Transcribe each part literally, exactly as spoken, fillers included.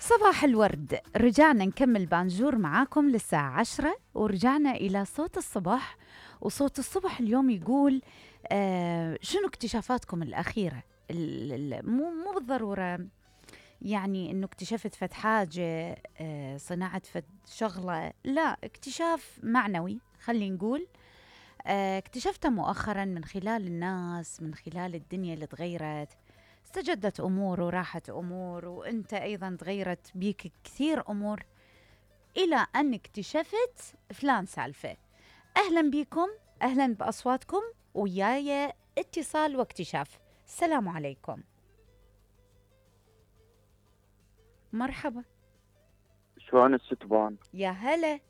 صباح الورد. رجعنا نكمل بانجور معاكم للساعة عشرة، ورجعنا إلى صوت الصبح. وصوت الصبح اليوم يقول آه شنو اكتشافاتكم الأخيرة؟ مو مو بالضرورة يعني إنه اكتشفت فد حاجة، آه صناعة فد شغلة، لا، اكتشاف معنوي خلي نقول. آه اكتشفته مؤخرا من خلال الناس، من خلال الدنيا اللي تغيرت، استجدت أمور وراحت أمور، وأنت أيضا تغيرت بيك كثير أمور إلى أن اكتشفت فلان سالفة. أهلا بكم، أهلا بأصواتكم، وياي اتصال واكتشاف. السلام عليكم. مرحبا. شلون الستبان؟ يا هلا.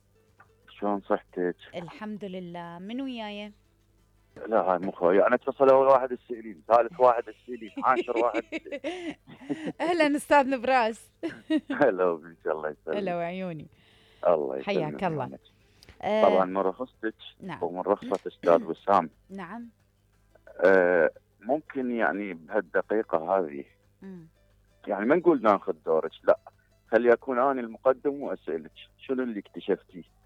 شلون صحتك؟ الحمد لله. من وياي؟ لا هاي مو خويا، انا اتصل اول واحد السئلين، ثالث واحد السئلين، عاشر واحد اهلا استاذ نبراس. هلا بك، الله يسلمك. هلا وعيوني. الله يسلمك. حياك الله. طبعا من رخصتك نعم. ومن رخصة استاذ وسام. نعم. آه ممكن يعني بهالدقيقة هذه مم. يعني ما نقول ناخذ دورك، لا، خلي اكون انا المقدم واسالك شنو اللي اكتشفتيه؟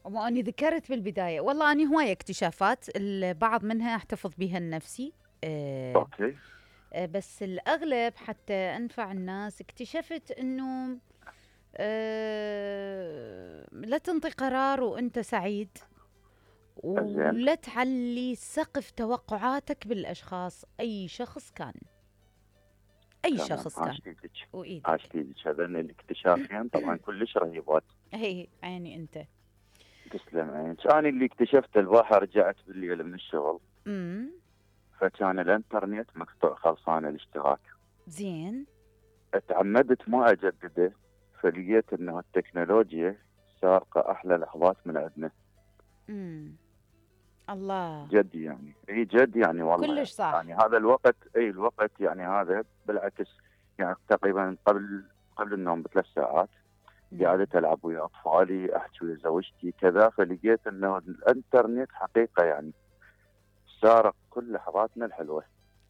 وما أني ذكرت بالبداية، والله أني هواية اكتشافات، البعض منها أحتفظ بها لنفسي. أه اوكي. أه بس الأغلب حتى أنفع الناس. اكتشفت أنه أه لا تنطي قرار وأنت سعيد، ولا تعلي سقف توقعاتك بالأشخاص، أي شخص كان، أي شخص كان. وإيدك عاشتيدك هذين الاكتشافين طبعا كلش رهيبات. هي عيني أنت. تسلم عينك. أنا اللي اكتشفت البارحة، رجعت بالليل من الشغل، امم فكان الانترنت مقطوع خلصان الاشتراك. زين. اتعمدت ما اجدده، فلقيت انه التكنولوجيا سارقة احلى لحظات من عندنا. امم الله. جد يعني، اي جد يعني والله كلش صح. يعني هذا الوقت، اي الوقت يعني هذا بالعكس، يعني تقريبا قبل قبل النوم بثلاث ساعات قاعدة ألعب ويا أطفالي، أحكي ويا زوجتي كذا، فلقيت أنه الإنترنت حقيقة يعني سارق كل لحظاتنا الحلوة.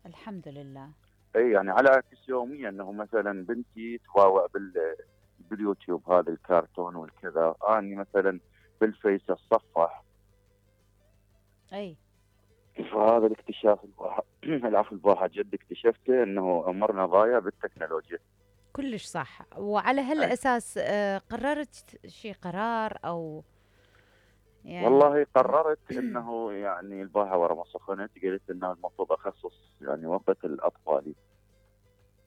الحمد لله. أي يعني على عكس يوميا، أنه مثلا بنتي تواوع بال باليوتيوب هذا الكرتون والكذا، أنا مثلا بالفيس الصفح. أي. فهذا الاكتشاف الواحد العفو الواحد جد اكتشفته، أنه أمرنا ضايع بالتكنولوجيا. كلش صح. وعلى هالأساس آه قررت شي قرار أو يعني والله قررت انه يعني البارحه ورا ما سخنت قلت انه المفروض اخصص يعني وقت الاطفال،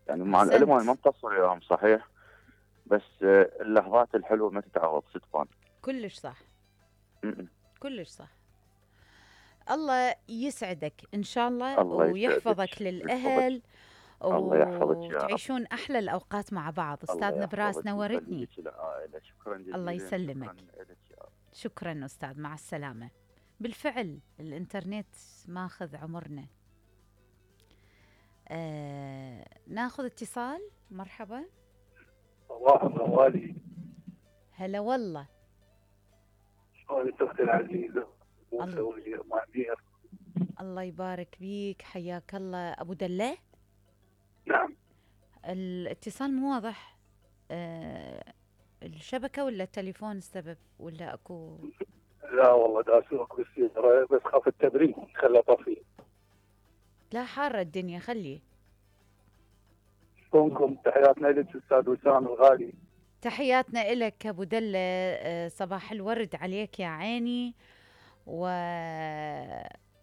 يعني مع العلم انا ما مقصر وياهم صحيح، بس اللحظات الحلوه ما تتعوض ستفان. كلش صح. م-م. كلش صح. الله يسعدك ان شاء الله, الله ويحفظك للاهل وتعيشون احلى الاوقات مع بعض. استاذ نبراس نورتني. شكرا جزيلا. الله يسلمك. شكرا استاذ، مع السلامه. بالفعل الانترنت ماخذ عمرنا. آه، ناخذ اتصال. مرحبا. صباح الغوالي. هلا والله. شلونك اختي العزيزه؟ ومسوي معمير. الله يبارك بيك، حياك الله. ابو دله. نعم. الاتصال مو واضح. آه الشبكه ولا التليفون السبب ولا اكو؟ لا والله داسوق بالسياره، بس خاف التبريد خلى طفي. لا حارة الدنيا، خليه. شلونكم؟ تحياتنا لك استاذ وسام الغالي. تحياتنا لك ابو دله، صباح الورد عليك يا عيني. و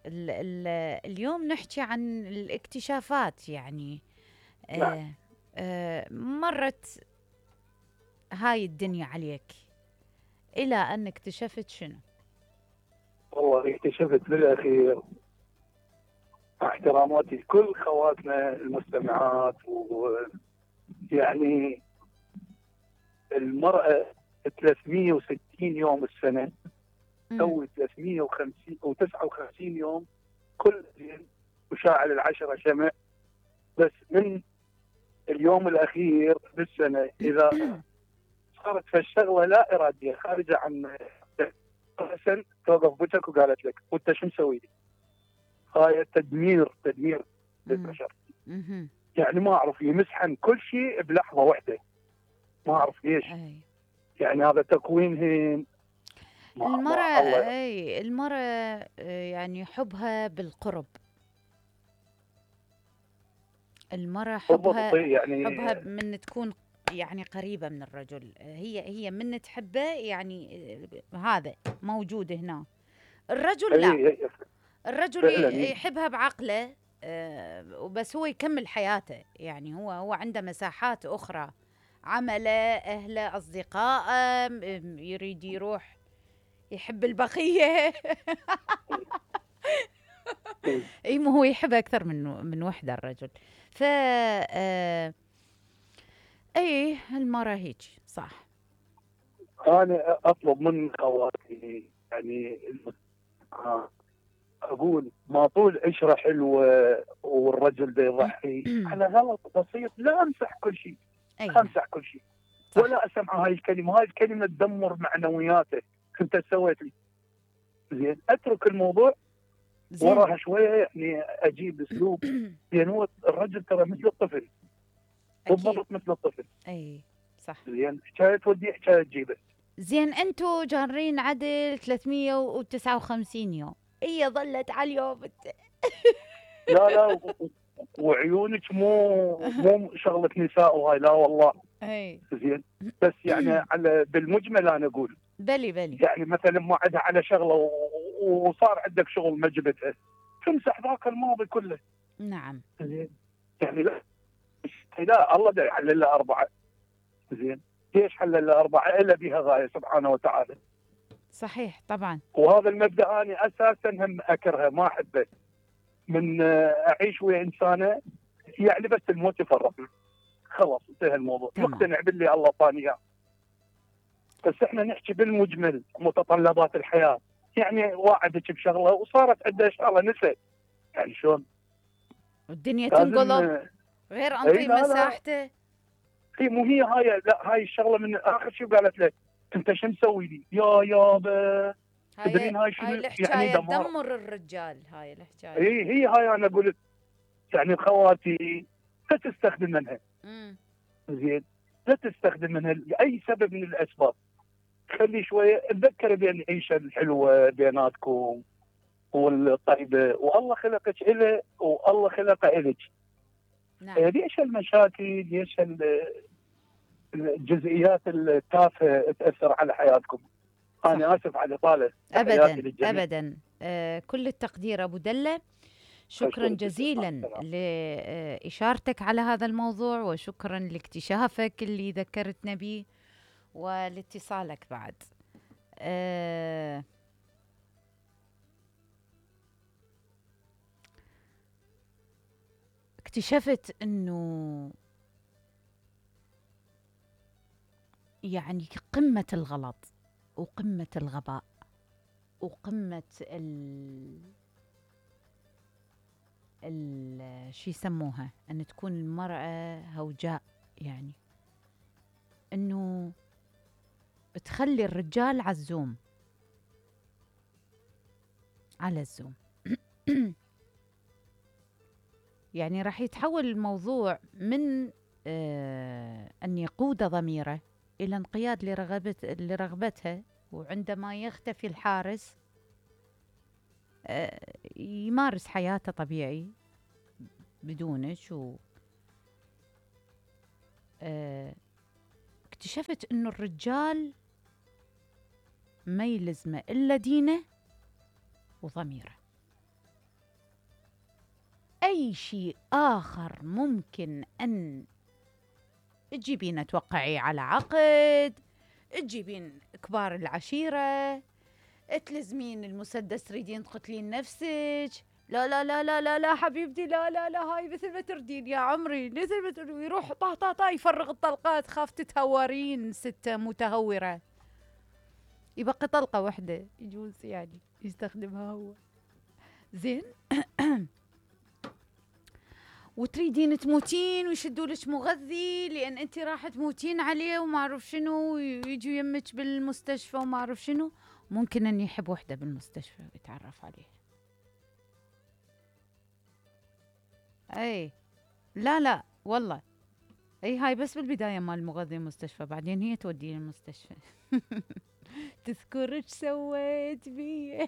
ال ال اليوم نحكي عن الاكتشافات يعني. آه آه مرت هاي الدنيا عليك الى ان اكتشفت شنو؟ والله اكتشفت بالاخير، احتراماتي لكل خواتنا المستمعات، ويعني المرأة ثلاثمية وستين يوم السنة تسوي ثلاثمية وخمسين أو تسعة وخمسين يوم كل يوم، وشاعل العشرة شمع، بس من اليوم الأخير بالسنة إذا صارت فالشغلة لا إرادية خارجة عن حسن توقف بوجهك وقالت لك وأنت شو مسوي؟ هاي تدمير تدمير للبشر. يعني ما أعرف يمسحن كل شيء بلحظة واحدة. ما اعرف ليش. اي يعني هذا تكوينهم. ما ما المرأة، الله. اي المرأة آه، يعني حبها بالقرب. المرأة بالضبط حبها يعني. حبها من تكون يعني قريبة من الرجل. هي هي من تحبه يعني آه، هذا موجود هنا. الرجل لا، اي اي الرجل فعلا. ي- يحبها بعقله آه، وبس هو يكمل حياته. يعني هو هو عنده مساحات أخرى، عمله، أهله، أصدقائه، م- يريد يروح يحب البقية. إي. اي ما هو يحب اكثر من من وحده الرجل. ف آه، اي المرة هيك صح. انا اطلب من خواتي يعني آه، اقول ما طول عشره حلوه والرجل ده يضحي على غلط بسيط، لا امسح كل شيء، اي لا نعم امسح كل شيء، صح. ولا اسمع هاي الكلمه، هاي الكلمه تدمر معنوياته. انت سويت لي زين، اترك الموضوع زين. وراها شويه، يعني اجيب اسلوب. لان هو الرجل ترى مثل الطفل، اكيد. بالضبط مثل الطفل. اي صح. زين، حكايه تودي حكايه تجيبه. زين انتو جارين عدل ثلاثمية وتسعة وخمسين يوم، هي ظلت على اليوم الت- لا لا و- و- وعيونك مو مو شغله نساء وهاي، لا والله. اي زين، بس يعني على بالمجمل انا اقول بلي بلي. يعني مثلا ما عندها على شغله و- وصار عندك شغل ما جبتها، تمسح ذاك الماضي كله. نعم زين، يعني لا لا الله دا يحلل لها اربعه. زين، ليش حلل لها اربعه؟ الا بها غايه سبحانه وتعالى. صحيح طبعا. وهذا المبدا انا اساسا هم اكرهه، ما احبه، من آه، اعيش ويا انسانه يعني بس الموت يفرقنا، خلاص انتهى الموضوع، تمام. مقتنع باللي الله طاني اياه. بس احنا نحكي بالمجمل متطلبات الحياه، يعني واعدك بشغله وصارت عندها شغله نسيت، يعني شلون؟ والدنيا لازم تنقلب آه، غير اي انطي لا لا مساحته. هي مو هي هاي، لا هاي الشغله من اخر شيء قالت له انت شو مسوي لي؟ يا يابا هاي تدرين هاي هاي شنو يعني الحكاية دمار. تدمر الرجال، هاي الحكاية. اي هي هاي انا قلت يعني خواتي لا تستخدم منها. امم زين، لا تستخدم منها لاي سبب من الاسباب. خلي شويه تذكر بين العيشه الحلوه بيناتكم والطيبه، والله خلقك إله والله خلق إلك. نعم ليش المشاكل؟ ليش ال- الجزئيات التافهه تاثر على حياتكم؟ صح. انا اسف على الاطاله، تحياتي ابدا للجميع. ابدا آه كل التقدير ابو دله. شكرا أشكرك جزيلا. مع جزيلا السلامة. لإشارتك على هذا الموضوع، وشكرا لاكتشافك اللي ذكرتنا به ولاتصالك بعد. آه اكتشفت انه يعني قمة الغلط وقمة الغباء وقمة ال ال شو يسموها، ان تكون المرأة هوجاء، يعني انه تخلي الرجال على الزوم، على الزوم. يعني راح يتحول الموضوع من آه أن يقود ضميره إلى انقياد لرغبت لرغبتها، وعندما يختفي الحارس آه يمارس حياته طبيعي بدونك. و آه اكتشفت إنه الرجال ما يلزمه إلا دينه وضميره. أي شيء آخر ممكن أن تجيبين توقعي على عقد، تجيبين كبار العشيرة، تلزمين المسدس تريدين تقتلين نفسك. لا لا لا لا لا لا حبيبتي، لا لا لا هاي مثل ما تردين يا عمري، مثل ما تردين. يروح طا طا طا يفرغ الطلقات، خاف تتهورين ستة متهورة، يبقى طلقة واحدة يجوز يعني يستخدمها هو. زين. وتريدين تموتين ويشدوا لك مغذي لان انت راح تموتين عليه وما اعرف شنو، ويجوا يمك بالمستشفى وما اعرف شنو. ممكن ان يحب وحده بالمستشفى ويتعرف عليها. اي لا لا والله اي هاي بس بالبدايه مال المغذي المستشفى، بعدين هي توديه المستشفى. تذكر ايش سويت بي.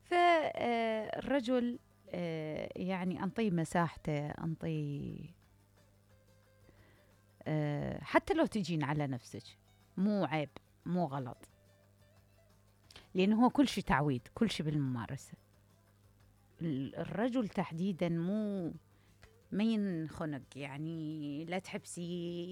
فالرجل يعني انطيه مساحته، انطيه حتى لو تجين على نفسك مو عيب، مو غلط، لأنه هو كل شيء تعويد، كل شيء بالممارسة. الرجل تحديدا مو ما ينخنق، يعني لا تحبسي